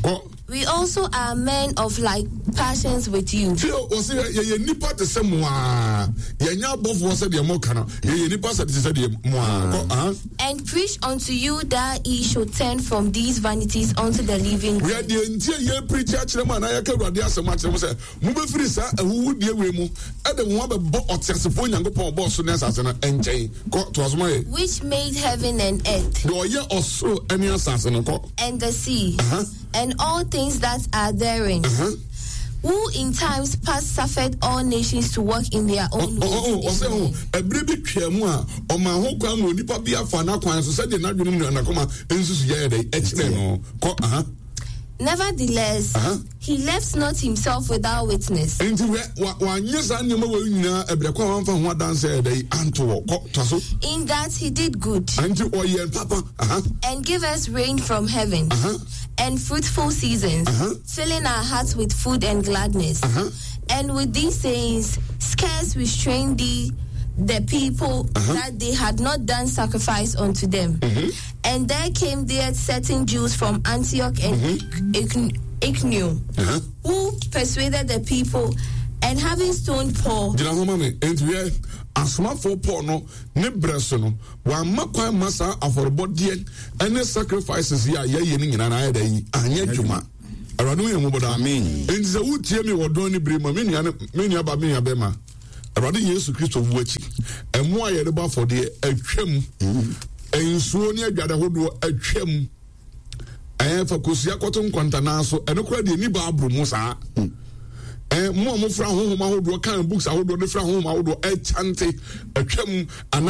Kɔ. We also are men of like passions with you. Tí o wɔ sɛ yɛyɛ nipa te sɛ mo aa yɛnyɛ abɔfoɔ sɛ deɛ mo ka no yɛyɛ nipa sɛ te sɛ deɛ mo aa kɔ ah. And preach unto you that ye should turn from these vanities unto the living God. Yɛ deɛ nti a yɛ preach akyerɛ mo anaa yɛka awurade asɛm akyerɛ mo sɛ mobɛfiri saa ahuhudeɛ wei mu ɛde mo abɛbɔ ɔteasefoɔ Nyankopɔn ɔbɔɔ so ne asase no nkyɛn kɔ toa so ma yɛ. Which made heaven and earth. Deɛ ɔyɛ ɔsoro ne asase no kɔ. And the sea, uh-huh. and all things that are therein. Uh-huh. Who in times past suffered all nations to walk in their own ways. Oh, oh, ɔsɛ ho ɛbere bi twaa mu a ɔma ho kwan ma onipa bi afa n'akwan so sɛdeɛ n'adwene mu n'akoma nsusu yɛ dɛ ɛkyerɛ no kɔ aha. Nevertheless, uh-huh. he left not himself without witness. Nti wɛ wa wanyɛ saa nneɛma wɔ nyinaa ɛbrɛ kɔ a wamfa ho adanse ɛdɛ yi anto wɔ kɔ toa so. In that he did good. Nti ɔyɛ papa. Uh-huh. And give us rain from heaven. Uh-huh. And fruitful seasons, uh-huh. filling our hearts with food and gladness. Uh-huh. And with these sayings, scarce restrained thee the people uh-huh. that they had not done sacrifice unto them. Mm-hmm. And there came there certain Jews from Antioch and mm-hmm. Iconium, uh-huh. who persuaded the people And having stoned Paul. Gyina hɔ ma me. Enti hwɛ, asomafoɔ Paul no ne berɛ so no, wamma kwan ma saa afɔrebɔdeɛ ne sacrifices yi a yɛyɛ no nyinaa na ayɛ dɛ yi anyɛ adwuma. Awurade hu yɛn mmɔbɔ daa. Amen. Enti sɛ wotie me wɔ dɔn ne bere mu a, me nua ne me nua ba, me nua bɛma, Awurade Yesu Kristo wu akyi, ɛmo a yɛde bɔ afɔdeɛ atwam, nsuo ne adwade ahodoɔ atwam. Ɛɛ fa kosua kɔto nkwantanaa so, ɛno koraa deɛ ni Bible mu saa. Ɛɛ mo a mofra honhom ahodoɔ kan books ahodoɔ de fra honhom ahodoɔ ɛkyante atwam ana.